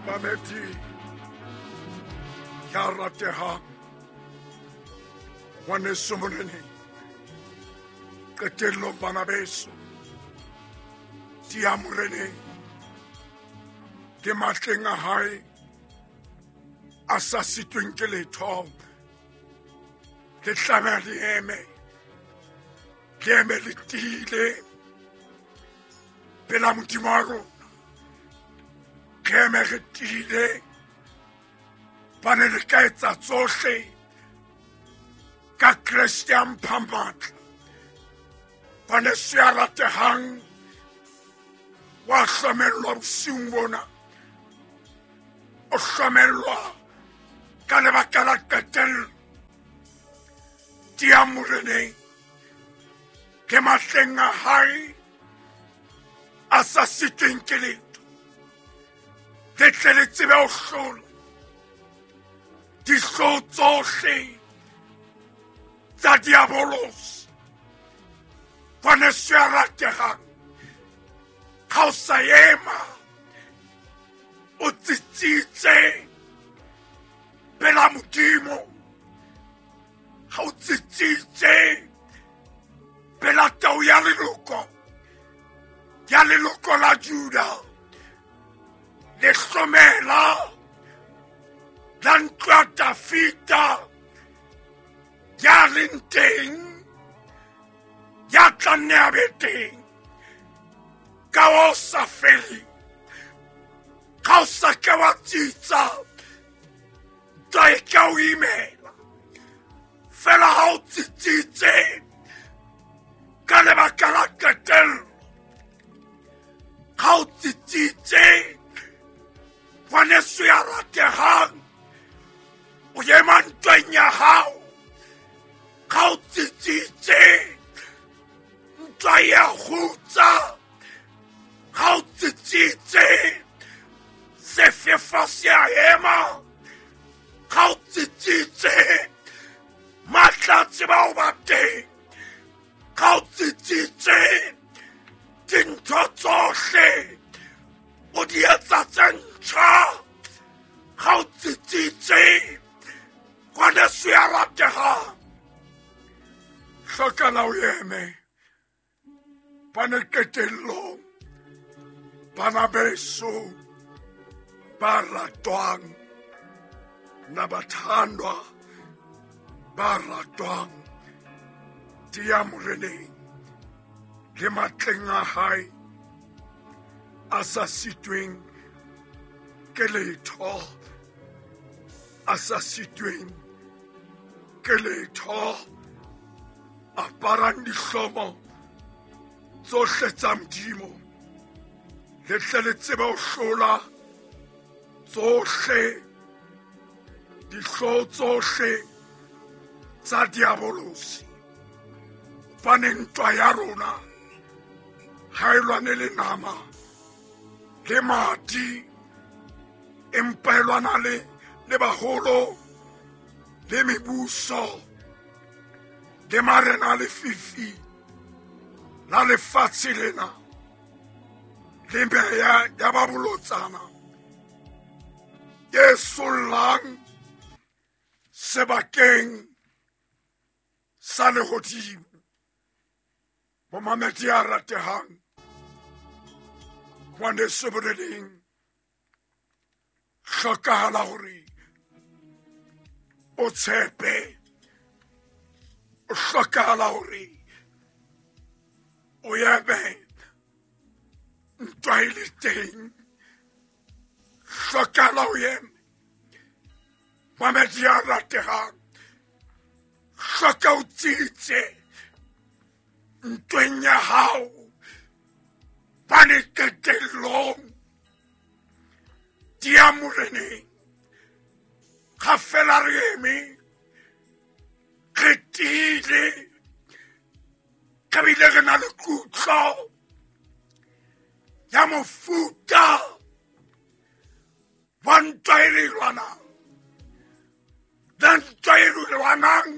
Mamedi ya ratehang, ngwaneso moreneng, qetellong bana beso, dia moreneng ke matleng a hae a sa sitweng ke letho. Le tlameha le eme, le eme le tiile pela Modimo wa rona. Re eme re tiile, bane le ka etsa tsohle ka Kreste a mphang matla. Ngwaneso ya ratehang, wa hlomellwa bosiung bona, o hlomellwa ka lebaka la qetello. Tia moreneng ke matleng a hae a sa sitweng ke letho, le tle le tsebe ho hlola dihlooho tsohle tsa diabolosi. Ngwaneso ya ratehang, ha o sa ema o tsitsitse pela Modimo, ha o tsitsitse pela tau ya leloko, ya leloko la Juda, le hlomela la ntlo ya Dafida, ya leng teng, ya tla nne a be teng ka o sa feleng. Ha o sa ke wa tsitsa, ntwa e ka o imela. Fela ha o tsitsitse ka lebaka la qetello, ha o tsitsitse, ngwaneso ya ratehang, o ema ntweng ya hao. Ha o tsitsitse, ntwa ya kgutsa. Ha o tsitsitse, sefefo se a ema. Ha o tsitsitse, matla a tseba ho ba teng. Ha o tsitsitse, dintho tsohle o di etsa tse ntjha. Ha o tsitsitse, ngwaneso ya ratehang, hlokala o eme bane qetellong, bana beso ba ratwang, na bathandwa ba ratwang, dia moreneng le matleng a hae a sa sitweng ke letho, a sa sitweng ke letho. Aparang dihlomo tsohle tsa Modimo, le tle le tsebe ho hlola tsohle dihlooho tsohle tsa diabolosi. Hobane ntwa ya rona ha e lwane le nama le madi, empa e lwana le baholo le mebuso le marena a lefifi la lefatshe lena le meya ya ba bolotsana e sollang sebakeng sa lehodimo. Bomamedi a ratehang, ngwaneso boleleng, hlokahala hore o tshepe, o hlokahala hore o eme ntwa e le teng. Hlokahala o eme, mamedi a ratehang, hloka o tsitse ntweng ya hao, bane qetellong dia moreneng ga fela re eme re tiile, re bile re na le kutlo ya mofuta wa ntwa e re lwanang. Na ntwa e re lwanang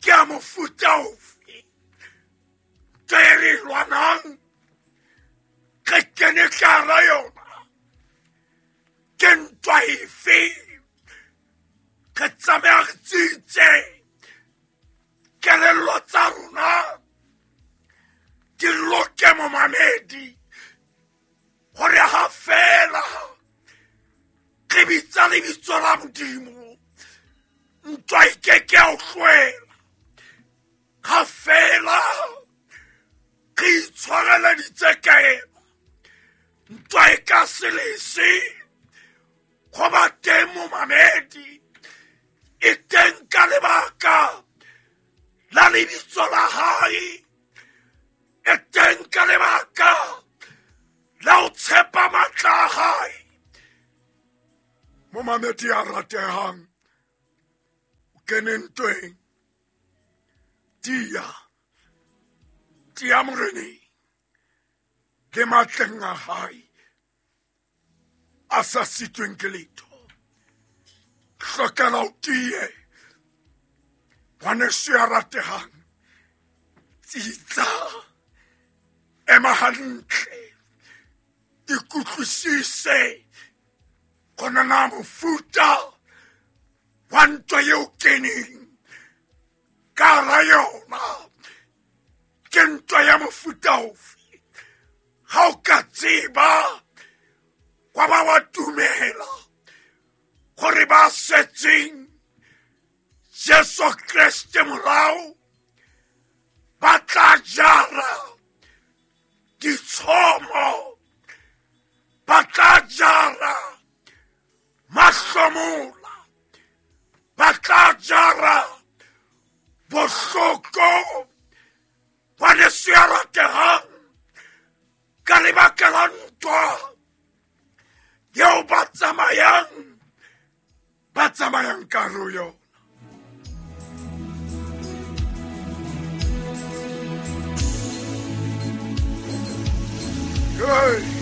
ke ya mofuta ofe? Ntwa e re lwanang re kene ka hara yona. Ke ntwa efe? Re tlameha re tsitse kelello tsa rona di loke, momamedi, gore ha fela re bitsa lebitso la Modimo, ntwa e keke ya o tlohela. Ha fela re itshwareleditse ka ena, ntwa e ka se lese go ba teng, momamedi. E teng ka lebaka la lebitso la hae, e teng ka lebaka la ho tshepa matla a hae. Momamedi ya ratehang, o kene ntweng, tia tia Moreneng le matleng a hae a sa sitweng ke letho. Hlokela o tie, ngwaneso ya ratehang, tsitsa, ema hantle, ikutlwisise gona na mofuta wa ntwa eo keneng ka hara yona ke ntwa ya mofuta ofe. Ha o ka tseba wa ba wa tumela gore ba setseng Jesu Kriste morao ba tla jara ditshomo, ba tla jara mahlomola, ba tla jara bohloko, ngwaneso ya ratehang, ka lebaka la ntwa eo ba tsamayang ka hare ho yona. Hey.